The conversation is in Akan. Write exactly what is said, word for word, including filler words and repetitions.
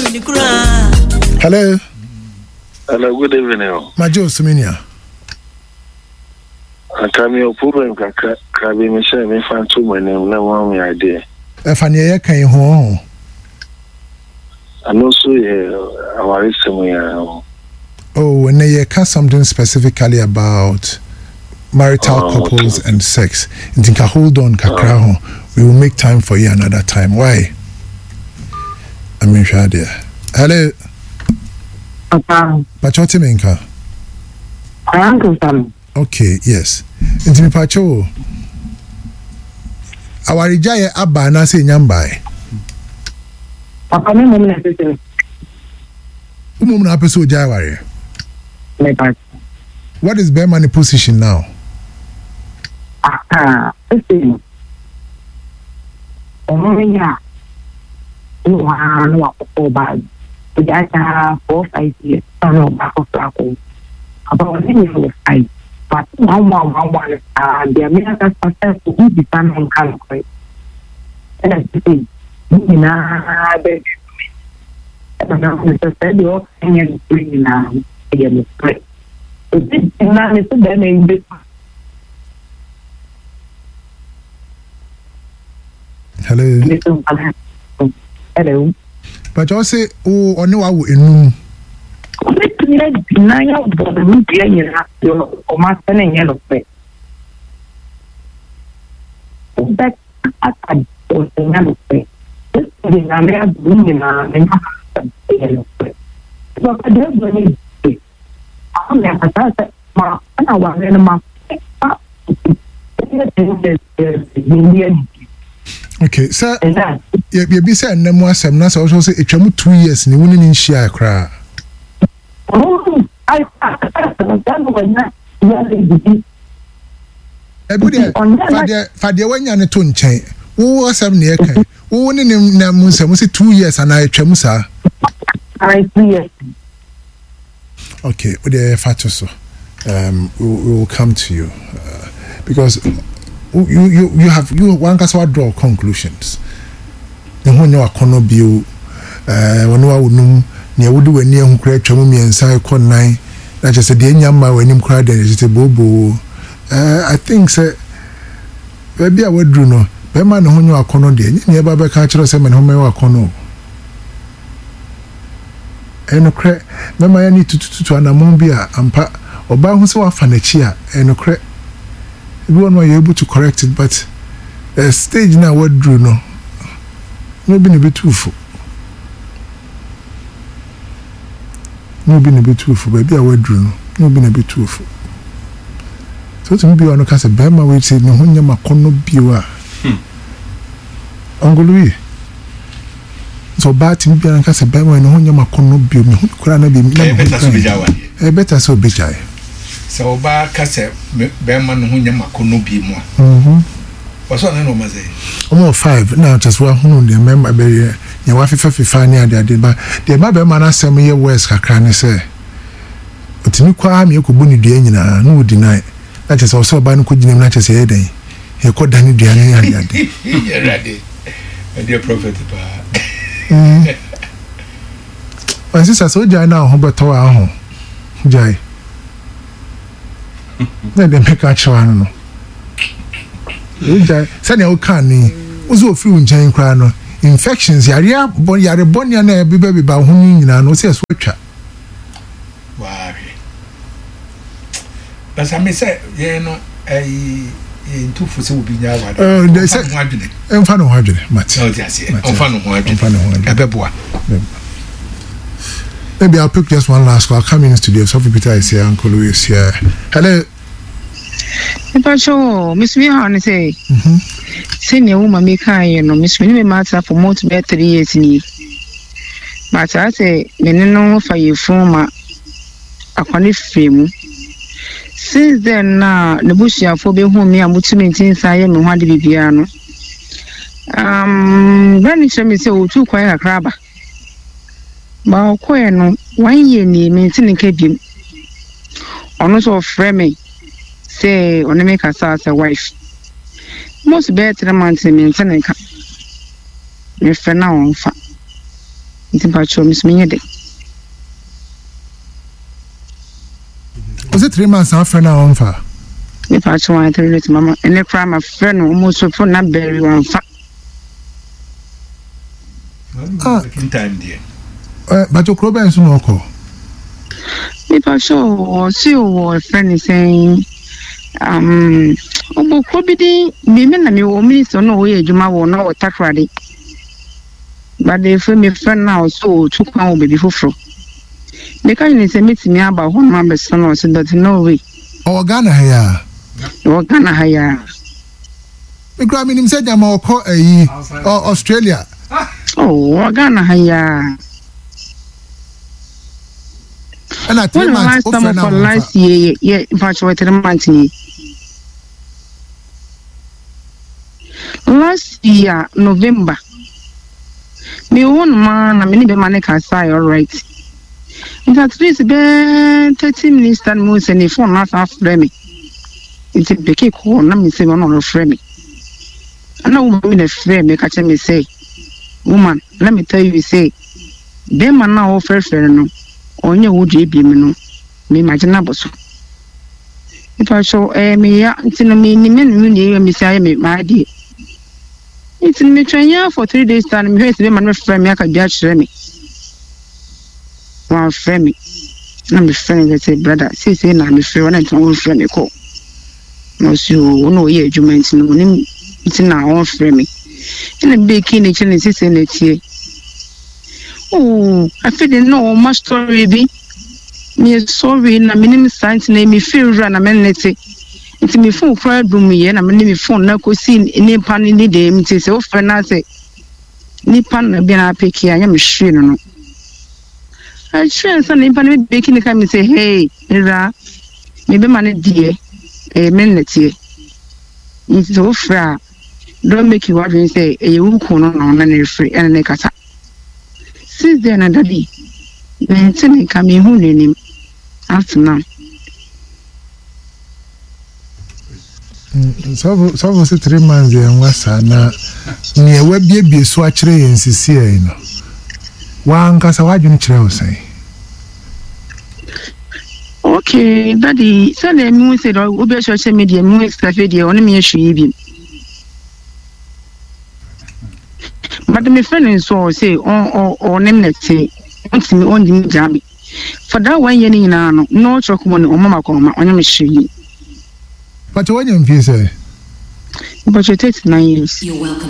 Hello. Hello, good evening. Majo Suminia. Anka mi o problem kakra kra bi mi sɛ mi fa nto mo anim na mo ami adeɛ. Ɛfa nea yɛka yi ho ho. Ano nso yɛ awaresɛm yɛ ho. Oh, and yɛka something specifically about marital Oh, couples okay. and sex. Nti nka hold on kakra ho. We will make time for you another time. Why? I mean, hwɛ adeɛ. Hello. Papa, Pakyɛ, wote me nka? ankasa no. Okay, yes. Nti mepakyɛ o. Awaregyaeɛ aba anaasɛ ɛnya mbaeɛ? Papa, me mmom na ɛsɛ sɛ Womom na apɛ sɛ ogyae awareɛ. mepa. What is bɛrima ne position now? Aha, ɛsɛ no. Ɔno no yɛ a, ne waa na wakɔkɔ ɔbaa bi. Ɔgya saa four five years na na ɔbaa foforɔ akɔ. Papa, ɔne nyɛ wɔ five. But one one one one saa deɛ, me ankasa sɛ obi bisa no nka nokorɛ. Ɛna sɛ ne nyinaa bɛdwe me. Ɛna na ɔno sɛ sɛ deɛ ɔka nyɛ nokorɛ nyinaa no, ɛyɛ nokorɛ. Obi gyina ne sɛ bɛrima yi bɛ Hello. ne so nkwadaa. Hello. Pakyɛ, wo se wo ɔne wawo enum. Obetumi agyina yɛ bɔ ne ho dua nyinaa deɛ ɔmo asɛ no nyɛ nokorɛ. Wobɛka aka ɔsɛ nyɛ nokorɛ. Esi de Nyame adom nyinaa ne nya asɛm ɛyɛ nokorɛ. Papa deɛ ɛbɔ ne de ama me akasa sɛ ma ɛna ware no ma fa ɛyɛ ten years ɛɛ yɛ Okay, sɛ ɛna yɛ yɛbi sɛ ɛnɛ mu asɛm na sɛ ɔsɔ sɛ etwa mu two years ni wo ne ne nhyia koraa. Ɔno ayi akasa no sɛ ɛna wɔnya yɛ lady. Ebi deɛ, fa deɛ fa deɛ wanya ne to nkyɛn. Wo asɛm ne yɛka. Wo ne ne na mu nsɛm sɛ two years anaa etwa mu saa. Ayi, two years. Okay, wo deɛ fa to so. Um, we, we will come to you uh, because you you you have you wankasa wa draw conclusions. Ne ho nyɛ wakɔnɔ bio. Ɛɛ wɔne wa wonum nea wode w'ani ahu koraa atwa mu mmiɛnsa ɛkɔ nnan na kyerɛ sɛ deɛ nya mma w'anim koraa deɛ kyerɛ sɛ booboo. ɛɛ I think sɛ baabi a waduru no, bɛrima ne ho nyɛ wakɔnɔ deɛ, nyɛ nea ɛba bɛka akyerɛ sɛ mɛ ne ho mɛyɛ wakɔnɔ o. Ɛyɛ nokorɛ, mɛma yɛ ne tutututu anammɔn bi a ampa ɔbaa ho sɛ wafa n'akyi a, ɛyɛ nokorɛ, ebi wɔ no a yɛ able to correct it, but uh, stage na waduru no na obi na ebetu fo na obi na ebetu fo. Baabi a waduru no na obi na ebetu fo so otumi bi wɔ no ka sɛ bɛrima wei sɛ ne ho nyɛ ma kɔnɔ bio a ɔngolo yi sɛ ɔbaa tumi biara nka sɛ bɛrima wei ne ho nyɛ ma kɔnɔ bio, me ho koraa na bi na Ɛyɛ me ho better sɛ koraa obɛgya awadeɛ. Ɛyɛ better sɛ obɛgyae. Sɛ ɔbaa ka sɛ me- bɛrima no ho nyɛ makɔnnɔ bi mu a, Mhm. ɔsɛ ɔne na ɔma sɛ Ɔmo wɔ five na kyerɛ sɛ wahunu deɛ mmarima bɛyɛ nea wafefa fefa ne ade ade ba deɛ ɛma bɛrima no asɛm yɛ worse kakra ne sɛ otumi kɔ ara mi ekɔbɔ ne dua nyinaa na odi nan na kyerɛ sɛ ɔsɛ ɔbaa no kɔ gyina mu na kyerɛ sɛ ɛyɛ dɛn yɛkɔ da ne dua ne ade ade. Awurade, ɛdeɛ prophet paa. My sister, sɛ ogyae na ho bɛtɔ wɔ aho gyae na deɛ mɛka kyerɛ ano no, ogyae sɛnea woka ne wo sɛ ofiri wo nkyɛn koraa no, infections, yareɛ bɔ yare bɔnea na ɛbebɛbeba wo ho no nyinaa no, wo sɛ ɛso atwa. Waahwɛ basa me sɛ yɛn no ɛyi yɛntu fo sɛ obi nya awade. Eh, de- Ɔmfa sɛ- ne ho adwene. Ɛmfa ne ho adwene, mate. Sɛ ɔte aseɛ. Mate. Ɔmfa ne ho adwene. Ɔmfa ne ho adwene. Ɛbɛboa. Maybe I'll pick just one last call. I'll come in studio. Sophie Peter is here. Uncle Louis is here. Hello. Mpakyɛ, mesumi ha ne sɛ Mm-hmm. sɛnea wo ma mekaeɛ no, mesumi ne me ma atena for month bɛyɛ three years nie, but saa sɛ me ne no fa yɛfunu ma akwane firi mu. Since then na ne busuafoɔ bɛhu me a motumi nti nsa yɛ me ho ade biribiara no, um, bra no kyerɛ me sɛ ɔtu kwan kakra aba ba ɔkɔɛ no, one year nie mente ne nka biom. Ɔno nso ɔfrɛ me sɛ ɔne me kasa sɛ wife most bɛyɛ three months ni mente ne nka. Mefrɛ na ɔmfa. Nti mpakyɛw me so menyɛ dɛ. Ɔsɛ three months afrɛ no a ɔmfa. Mepakyɛw wɔn three days mama ɛnɛ koraa ma frɛ no ɔmo so phone na bɛri wɔnfa. Ah, bakyɛ kuro bɛn so na ɔkɔ? Mepakyɛw ɔse ɔwɔ ɛfrɛ ne sɛn um ɔbɔ kuro bi din bi me na mewɔ minister no ɔyɛ adwuma wɔ na ɔwɔ Takoradi. But efiri me frɛ no a ɔse ɔtu kwan wɔ baabi foforɔ. Meka kyerɛ no sɛ mɛtumi aba hɔ nom abɛsra no ɔse but no way. Ɔwɔ Ghana ha yi a? Ɔwɔ Ghana ha yi a. Me koraa menim sɛ gyama ɔkɔ ayi Australia. Oh, ɔwɔ Ghana ha yi a. Ɛna three months o frɛ na wɔn fa. Last year yɛ mpatsɔ three months ni. Last year November. Me wɔ no ma na me ne bɛma ne kasa yɛ alright. Nti at least bɛɛ thirty minutes time mu sɛ ne phone na asan afrɛ me. Nti bɛkɛ kɔɔ na me sɛ ɔno ɔrefrɛ me. Ɛna woman bi na frɛ me ka kyerɛ me sɛ, woman, let me tell you say, bɛrima no a wɔfrɛfrɛ no no, ɔnyɛ wo deɛ ebiem no, me magye no abɔ so. Nipa so ɛyɛ me ya nti no me nim me ne me nua me si ayɛ me m'adeɛ. Nti no metwɛn ya for three days time mehwɛ sɛ bɛrima no bɛfrɛ me aka bi akyerɛ me. Wɔamfrɛ me. Na mefrɛ no sɛ brother seesei na mefrɛ wo na nti wɔmfrɛ me kɔ. Na ɔsi o na ɔyɛ adwuma nti no onim nti na ɔmfrɛ me. Ɛna mbɛki ne kyerɛ ne seesei na ɛteɛ. Oh, afei de na ɔma story bi. Meyɛ sorry na menim saa nti na mefiri wura na mene te. Nti me phone koraa dum yɛ na mene me phone na kɔsi nipa no ne dɛm nti sɛ wofrɛ no asɛ nipa no bi na apeke a nyɛ me hwee no no. Akyerɛ nsa na nipa no bɛki ne ka me sɛ hey, wura mebɛma no deɛ ɛyɛ me nnɛteɛ. Nti sɛ wofrɛ a don't make you wadwene sɛ ɛyɛ wo kun no na ɔno ne refrɛ ɛna ne kasa. Since then na daddy mente ne nka mehu n'anim up to now. Sɔfo sɔfo sɛ three months yɛn nwa saa na nea wabiebie so akyerɛ yɛn sisi yɛn no wankasa wadwene kyerɛ wo sɛn. Okay, daddy sɛdeɛ mehu sɛ deɛ obi ahyɛ ɔhyɛ me deɛ mehu sɛ afei deɛ ɔne me yɛ hwee bi. But me friend nso ɔsɛ ɔne me nɛte ɔntumi ɔntumi gyaa me. For that one year ne nyinaa no na ɔkyerɛ kɔmɔ ne ɔma ma kɔma ɔnyɛ me hwee. Pakyɛ wanya mfie sɛ? Mpakyɛ thirty nine years. You're welcome.